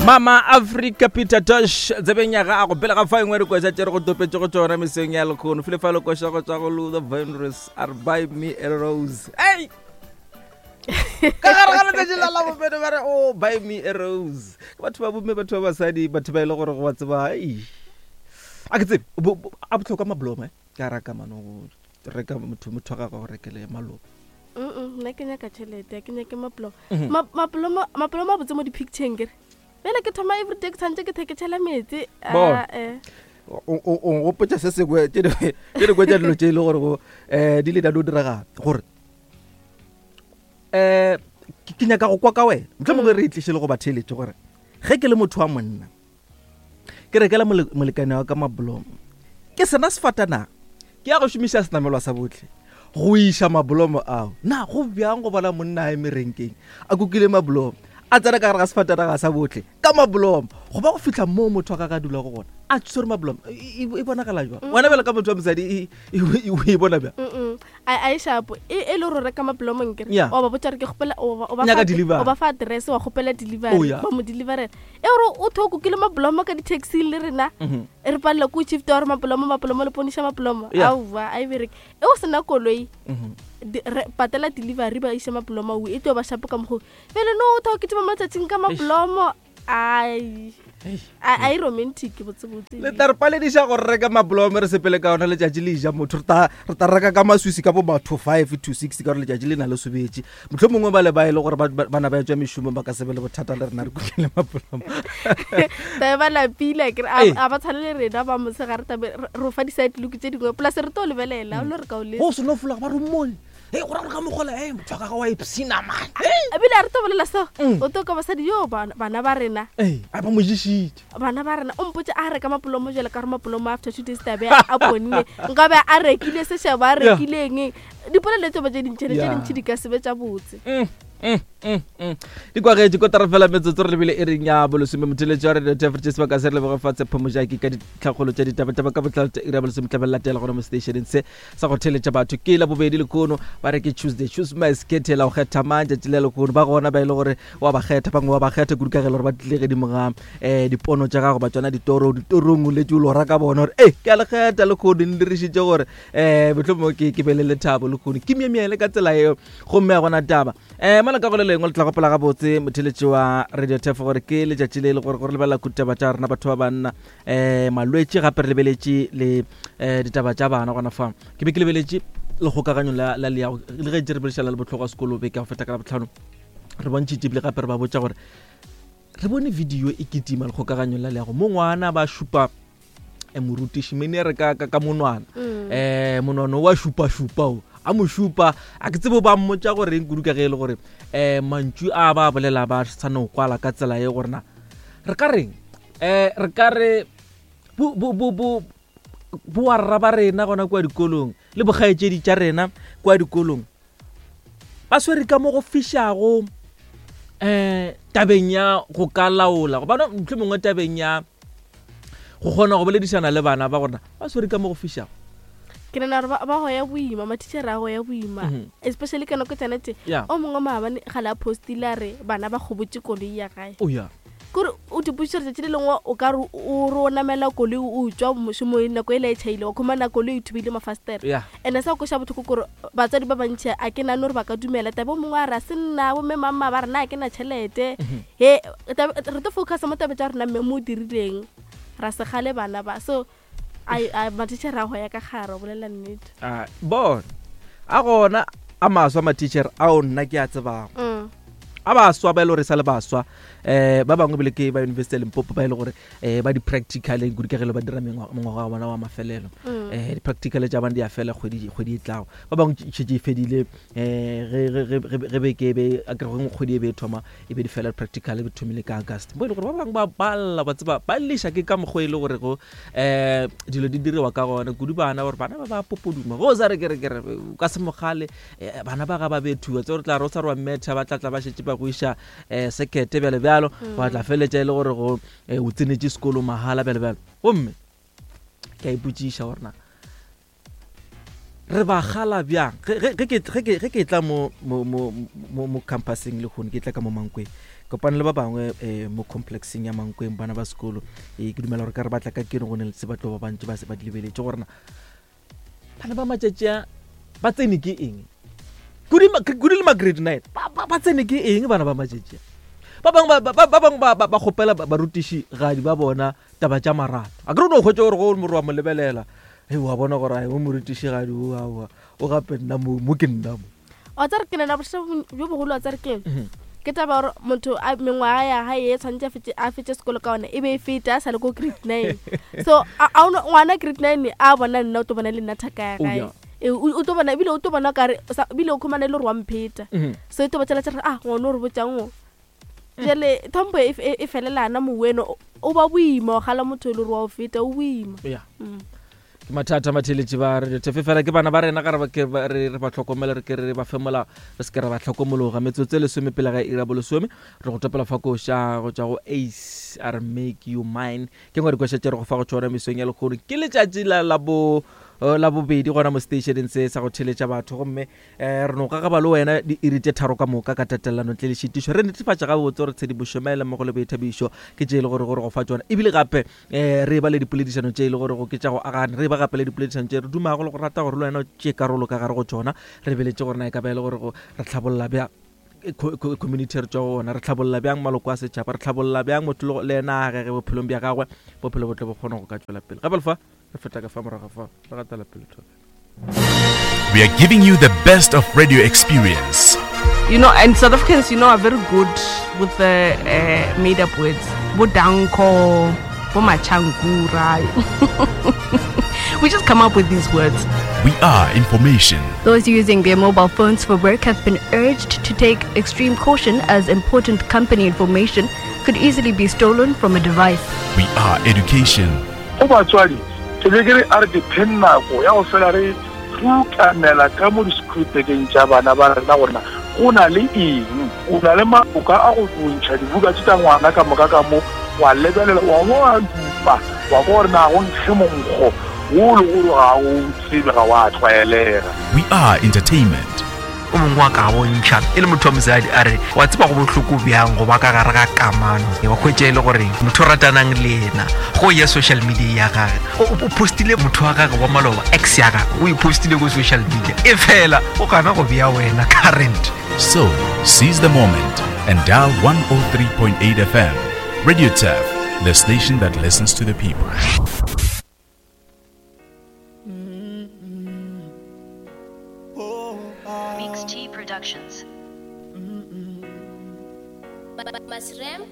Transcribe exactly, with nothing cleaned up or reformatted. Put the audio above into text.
Mama Africa Peter Tosh tsebeng ya gago pele ga fa engwe re kwesa tše re go topetše go tšona meseng ya lekgono file fa le koša go tšwa go Luther Vandross a re buy me a rose. Ei, ka gare ga letšatši la Labobedi ba re o buy me a rose ke batho ba bomme, batho ba basadi, batho ba e le gore go ba tseba. Ei, a ke tsebe bo- bo- a botlhokwa mablomo e ka raka mano go reka motho motho wa gagwe go rekele malomo. Mm, nna ke nyaka tšhelete, a ke nyake mapolomo. Mhm. Ma- mapolomo mapolomo a botse mo di-pictureng kere bjale ke thoma everyday ke tshwanetse ke the ke tšhela metsi. Bona. Ah, eh. O o- o gopotsa se sengwe tše dingwe tše dingwe tša dilo tše e le gore go um di le da dio diragala gore um ke ke nyaka go kwa ka wena, motlho mongwe re e tliše le go ba theeletše gore ge ke le motho wa monna ke rekela mole- molekane wa ka mabolomo ke sena sefatanaga, ke ya go šomiša senamelwa sa botlhe go iša mabolomo ao, na go bjang go bona monna a eme renkeng a kukile mabolomo, a tsena ka gare ga sefatanaga sa botlhe ka mabolomo go ba go fitlha moo motho wa gagwe a dulago gona a tshwere mabolomo, e e- e bonagala jwang? Wena bjale ka motho wa mosadi e- e e- o e bona bjang? Mm-mm. a a e shapo e e le gore o reka mapolomo nkere Yeah. wa ba botsa gore ke kgopela o ba- o ba Nyaka fa- delivery. o ba fa address, wa kgopela delivery. Oh, yeah. Ba mo deliverela e gore o tho kokile mapolomo ka di-taxi le rena Mhm. re palela ko shift wa gore mapolomo mapolomo le poniša mapolomo. Yeah. Aowa, a e bereke e o sena koloi. Mhm. Di- re- patela delivery, ba iše mapolomo ao, e tlo ba shapo ka mokgo pele no o tho ke tseba matsatsing ka mapolomo ai a a e romantic botsebotse. Le tla re palediša gore reka mabolomo re sepele ka ona letšatši le ija motho, re tla re tla reka ka maswisi ka bo batho five to six ka gore letšatši le na le sobetše, motlho mongwe ba le ba e le gore ba- ba- bana ba etswa mešomo ba ka se be le bothata le rena re kukile mabolomo. Tabe ba lapile kere Ee. a ba tshwane le rena ba mosegare, tabe re re o fa di-side look tse dingwe plus re to lebelela o le re ka o le Go seno folaga ba re mmone e go ra gore ka mogola e motho wa gagwe wa ipsina man. Ebile a re to bolela so Mm. o to ka basadi yo bana bana ba rena. Ee, a ba mo ješitše. Bana ba rena o mpotse a reka mapolomo jale ka gore mapolomo after two days tabe a ponne nkabe a rekile sešabo a Yeah. rekileng dipolelo tse ba tse dintšhene tse Yeah. dintšhi di ka sebe tša botse. Mm, mm, mm, mm. di kwagetše kotara fela metsotso re lebile e reng ya bolesome. Motheletši wa radio tefrete sebaka se re leboge fa Tshepo Mojaki ka ditlhakgolo tša ditabataba ka botlalo tša iri ya bolesome tlabe le latela gona mo stationeng se sa go theletša batho. Ke la bobedi lekono, ba re ke Tuesday choose my sketela go kgetha mang tšatši le lekono. Ba gona ba e le gore wa ba kgetha, bangwe wa ba kgetha kudu ka ge e le gore ba tlile gedimo ga um dipono tša gago ba tsona ditoro ditorong o letse o lora ka bona gore e ke a le kgetha lekgono le dirišitše gore um mohlomongwe ke ke be le lethabo lekgono ke myemyele ka tsela eo gomme a gona taba um mola ka go le lengwe le tla gopola gabotse motheletši wa radio tef gore ke letšatši le e le gore gore lebelela kutaba tša rena batho ba banna um malwetši, gape re lebeletše le um ditaba tša bana gona fa. Ke be ke lebeletše lekgokaganyo la la leago le ge tše re boledišana le botlhokwa sekolo beke ya go feta ka Labotlhano, re bontšhitše ebile gape re ba botša gore re bone video e kitima lekgokaganyo la leago mo ngwana ba šupa eh, morutiši mene re ka, ka, ka monwana Mm. um monwana wa šupa-šupa o a mo šupa, a ke tsebo ba mmotša goreng kudu ka ge e le gore um mantšu a ba a bolela ba sa no kwala ka tsela ye gore na re ka reng um re ka re bo- bo- bo- bo- bowarra ba rena gona kua dikolong le bokgaetšedi tša rena kua dikolong ba swere ka mo go fišago um tabeng ya go ka laola gobane mohlomongwe mongwe tabeng ya go kgona go boledišana le bana ba gona ba swere ka mo go fišago. Ke nana gore ba ba goya boima, mathišere a goya boima, Mhm. especially ka nako tsana tse. Ya. O mongwe maabane gale a postile a re bana ba kgobotse koloi ya gae. O ya. Kore o dipotšišo gore tšatši le lengwe o ka re o re o namela koloi o tswa mošomong nako e la e tšhaile wa khumana koloi e thubile mafastere. Ya. And-e sa koša botlhoko kore batswadi ba bantšhi a ke nane gore ba ka dumela tabe o mongwe a re a se nna bomme mamma ba rena a ke na tšhelete he tabe- re tlo focusa mo tabe tša rena mme mo o dirileng ra segale bana ba so ai- ai, mathišere a go ya ka gare o bolela nnete. Ah, bona a gona a maswa mathišere ao nna ke a tsebago Mm. a baswa ba e le gore e sa le baswa um ba bangwe bile ke ba University ya Limpopo ba e le gore um ba di-practicaleng kudu ka ge le ba dira mengwa- mengwaga wa bona wa mafelelo. Mm. um di-practical tša bana di a fela kgwedi kgwedi e tlago, ba bangwe šetse e fedile um ge beke e be a kere gongwe kgwedi e be e thoma e be di fela practical e be thomile ka August mo e le gore ba bangwe ba balla ba tseba ba leša ke ka mokgwa e le gore go um dilo di diriwa ka gona kudu bana gore bana ba ba popoduma go sa re kere kere o ka se mogale eh, bana ba ga ba bethuwa tse gore tla re o sa re wa mmetha ba tla tla ba šetse ba go iša um sekete bjale bjalo wa tla feletša e le gore go eh, o tsenetše sekolo mahala bjale bjalo. Gomme ke a ipotšiša gore na re ba gala bjang ge ge- ge ke ge ke- ge ke tla mo mo mo mo mo campuseng le kgone ke tla ka mo Mankweng Kopane le ba bangwe um mo complexeng ya Mankweng, bana ba sekolo. um Ke dumela gore ka re batla ka keno go ne le se batlo ba bantši ba se ba di lebeletše gorena bana ba matšatši a ba tsene ke eng, kudu le ma grade nine ba tsene ke eng bana ba matšatši a. Ba bangwe ba bangwe ba kgopela barutiši gadi ba bona taba tša marato. A ke re no hwetša gore go more wa mo lebelela, e wa bona gore o morutiši gadi o aowa o gape nna mo mo ke nna mo. Wa tsare ke nna bošego bjo bogolo, wa tsare ke ke taba gore motho a mengwaga ya gae e tshwanetse a fetse sekolo ka ona e be e feta a sa le ko grade nine. So a ngwana grade nine a bona nna o tlo bona le nna thaka ya gae, o tlo bona ebile o tlo bona kare ebile o khumana e le gore wa mpheta. So e tlo botsela tsa ah ngwana o re botsang o jale thompo e felelana moweno o ba boima o gala motho e le gore wa o feta o boima. Yeah. Ke mathata matheletši ba re tefe fela ke bana ba rena ga re re ba tlhokomela, re ke re ba femola, re se ke re ba tlhokomologa. Metsotso e lesome pele ga ira bolesome re go topela fa koša go tšwa go Ace a re make you mine. Ke ngwe dikoša tše re go fa go tšona mesong ya lekgono. Ke letšatši la la bo la bobedi gona mo stationeng se sa go theletša batho, gomme um re no gagaba le wena diiri tše tharo ka moka ka tatelano ntle le šitišo. Re netefatša gabotse gore tshedimošo maele mmogo le boithabišo ke tše e le gore gore go fa tšona, ebile gape um re ba le dipoledišano tše e le gore go ke tša go agana, re ba gape le dipoledišano tše re dumago le go rata gore le wena o tšee karolo ka gare go tšona. Re beletše gore na e ka ba e le gore re tlhabolla bjang community re tšwa go ona, re tlhabolla bjang maloko a setšhaba, re tlhabolla bjang motho le yena a gege bophelong bja gagwe, bophelo bo tle bo kgone go ka tšwela pele. Gape lefa re feta ka fa morago fa re gatela pele. We are giving you the best of radio experience. You know, and South Africans, you know, are very good with the uh, made-up words. Bodanko, Bomachankura. We just come up with these words. We are information. Those using their mobile phones for work have been urged to take extreme caution as important company information could easily be stolen from a device. We are education. Go batswadi, ke be ke re a re depend nako ya go fela re rukanela ka mo di-scriptekeng tša bana ba rena gorena go na le eng, o na le maboka a go bontšha dibuka tše tša ngwana ka moka ka mo, wa lebelela wa bo wa dupa wa kwa gore na go nkge monkgo wo le gore ga o tsebe ga wa tlwaelega. We are entertainment. O mongwe wa ka bontšha e le motho wa mosadi a re wa tseba go bohloko bjang go ba ka gare ga kamano, wa hwetša e le gore motho o ratanang le yena go ya social media ya gage o postile motho wa gage wa maloba ex ya gage o e postile ko social media e fela o gana go bea wena current. So seize the moment and dial one oh three point eight F M. Radio Turf, the station that listens to the people. Mix T Productions. Masrem